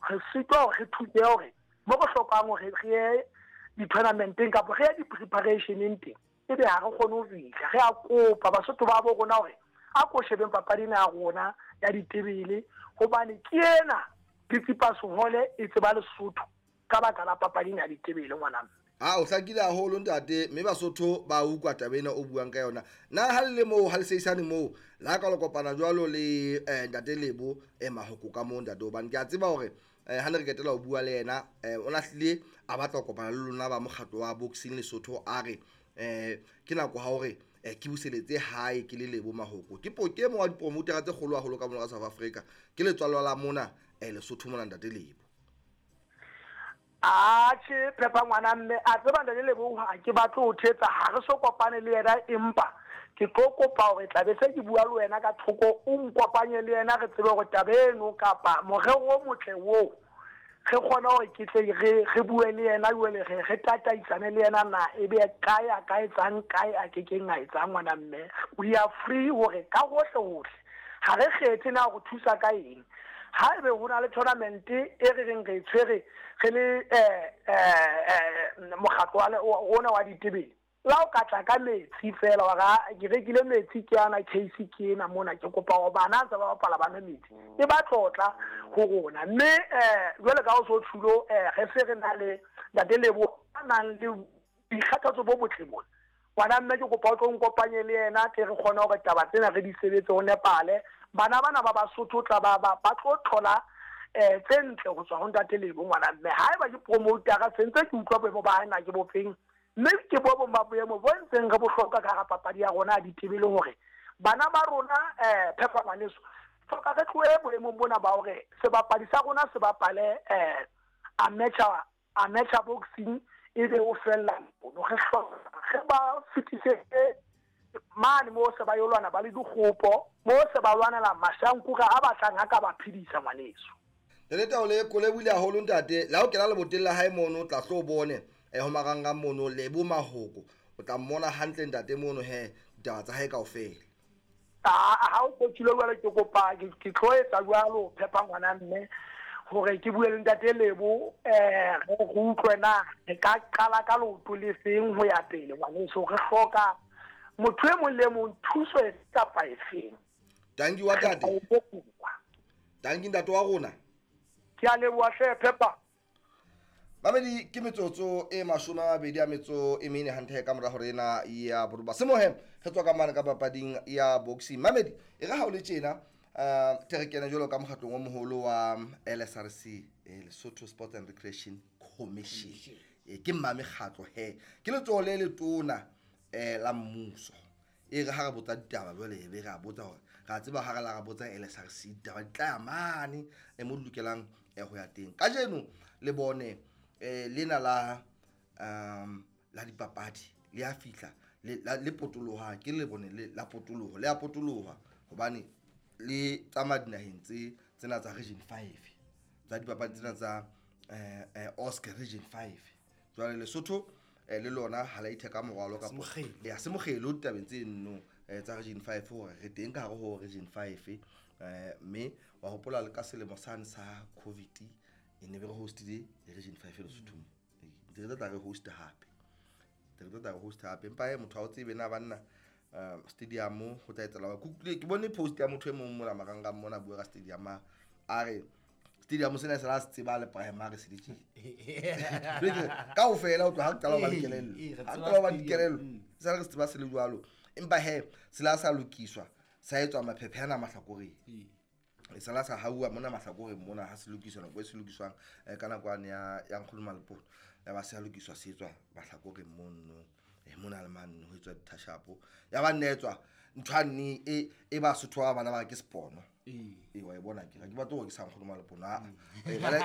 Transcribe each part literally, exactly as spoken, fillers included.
Re sitwa hore re thuse hore mo re hlokang hore re ye di-tournamenteng kapa re ye di-preparationeng teng, ebe ha re kgone ho fihla. Re a kopa Basotho ba bo rona hore a ko shebeng papadi ena ya rona ya ditebele, hobane ke ena Tsitsipas Hole e tseba Lesotho ka baka la papadi ena ya ditebele, ngwana mme. A o hlakile haholo, ntate, mme Basotho ba utlwa taba ena o buang ka yona. Na ha le le moo, ha le seisane moo, la ka lo kopana jwalo le eh, ntate Lebo eh, Mahoko ka moo, ntate, hobane ke a tseba hore eh, ha ne re ketela ho bua le yena, eh, o lahlile a batla ho kopana le lona ba mokgatlo wa boxing Lesotho. A re eh ke nako ha hore eh, ke buseletse hae ke le Lebo Mahoko, ke po ke e mong wa dipromotera tse kgolo haholo ka mona ka South Africa, ke letswalo la mona eh, Lesotho mona, ntate Lebo. Atjhe, Phepa, ngwana mme, a tseba ntate Lebo ha ke batle ho thetsa, ha re so kopane le yena, empa ke tlo kopa hore tla be se ke bua le wena ka thoko, o nkopanye le yena, re tsebe hore taba eno kapa morero o motle oo re kgone hore ke tle re re bue le yena jwale, re re tataisane le yena na ebe kae a ka etsang, kae a kekeng a etsang. Ngwana mme, we are free hore ka hohle hohle, ha re kgethe na go thusa ka eng. Ha ebe ho na le tournament e re reng re e tshwere re le eh eh mokgatlo wa rona wa ditebele, la o ka tla ka metsi fela wa ra ke rekile metsi, ke ana case ke ena mona, ke kopa hore bana ntse ba bapala ba nwe metsi, e ba tlotla ho rona. Mme eh jwale ka o so tshilo, eh re se re na le ntate Lebo a nang le boikgathatso bo botle bona. Ngwana mme, ke kopa o tlo nkopanye le yena, tle re kgone hore taba tsena re di sebetse ho nepale. Bana bana ba Basotho tla ba ba ba tlo thola eh tse ntle ho tswa ho ntate Lebo, ngwana mme. Haeba ke promotera, sentse ke utlwa boemo ba hae na ke bofeng, mme ke bo bong ba boemo bo ntseng re bohloka ka hara papadi ya rona ya ditebele, hore bana ba rona, eh Phepa ngwaneso, hloka re tlohe boemong bona ba hore sebapadi sa rona se bapale eh amateur amateur boxing ebe o fella mono. Re hloka re ba fetisetse mane mo se ba yo lwana ba le dikgopo, mo se ba lwanela mashankura a batlang a ka ba phedisa, ngwaneso. Ntate Taole, kole buile haholo, ntate. La o kena leboteng la hae mono, o tla tlo bone eh, ho marangrang mono Lebo Mahoko, o tla mmona hantle ntate mono he, ditaba tsa hae kaofela. Ha o kotjile jwale, ke kopa ke ke tlo etsa jwalo, Phepa ngwana mme, hore ke bue le ntate Lebo, eh re utlwe na re ka qala ka leoto le feng ho ya pele. Ngwaneso, re hloka motho e mong le mong, thuso e kapa efeng. Tanki wa tate, tanki ntate wa rona. Ke a leboha hle, Phepa. Mamedi, ke metsotso e mashome a mabedi a metso e mene hantle ka mora hore ena ya boroba semohe re tswa ka mane ka papading ya boxing. Mamedi, e re ha o le tjena, um tle re kene jwalo ka mokgatlong o moholo wa L S R C, eh, Lesotho Sports and Recreation Commission. Eh, ke mma mekgatlo he, ke letsoho le letona um la mmuso. E re ha re botsa ditaba jwale, e be re a botsa hore re a tseba ha re la ra botsa L S R C, ditaba di tla ya mane e mo di lokelang eh, ho ya teng. Kajeno le bone eh, lena la um la dipapadi le a fihla le la- le potoloha, ke le bone le la potoloho, le a potoloha hobane le tsamaya dinaheng tse tsena tsa region five tsa dipapadi tsena tsa eh, eh, Oscar region five. Jwale Lesotho eh, le lona ha la itheka morwalo kapa Mokgelo. Ya se mokgelo ditabeng tse nno eh, tsa region five, hore re teng ka hare ho region five. eh, mme wa hopola le ka selemo sane sa COVID e ne be re hostile region five Lesotho mo. Ee, ntse re tla tla re host hape, ntse re tla tla re host hape, empa he motho ha o tsebe na banna um stadium ho tla etsahala. Ke utlwile, ke bone post ya motho e mong mona marangrang mona, bua ka stadium, a a re stadium sena se la se tseba le primary se le tjena kaofela o tloha ha qala ho ba le kelello. Ee, re Ha tseba qala ho ba le stadium, kelello, mm. se re se tseba se le jwalo, empa he se la sa lokiswa, sa etswa maphephe ana mahlakoreng. Ee. E sala sa hauwa mona mahlakoreng mona ha se lokiswa, nako e se lokiswang eh, ka nako yane ya ya nkgono Malepolo, ya ba se a lokiswa, se etswa mahlakoreng mono, eh, mona le mane ho etswa dithatjhapo, ya ba nne etswa ntho ane e e ba Sotho ba bana ba re ke sepono. Ee. Ee, wa e bona, ke ga ke batle hore ke sa nkgono Malepolo a ba la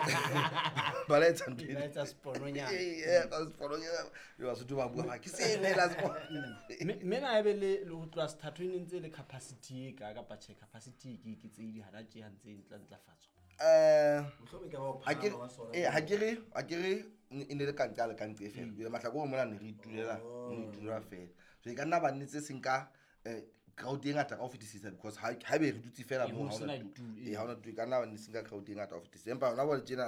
ba la etsa ntho Ba etsa sepononyana. Ee, ee, etsa sepononyana. Le Basotho ba bua ba ke sene la sepono. mme mme na ebe le le ho tloha sethatho e ne ntse e le capacity e ka kapa tjhe, capacity e ke ke tse di hana tje ha ntse e ntla ntlafatswa? Eh, Mohlomong e ka ba ho ha ke phahama wa sona. eh, ha ke re ha ke re e ne le ka nqa le ka nqe fela, jwale mahlakoreng mona ne re itulela, ne itulela fela, so e ka nna ba nne tse seng ka eh, crowd e ngata ka ho fetisisa, because ha ha be re dutse fela Ee, moo ho ha sena hona ditulo, tulo. Ee, ha hona tulo, e ka nna ba nne seng ka crowd e ngata ho fetisisa, empa hona jwale tjena.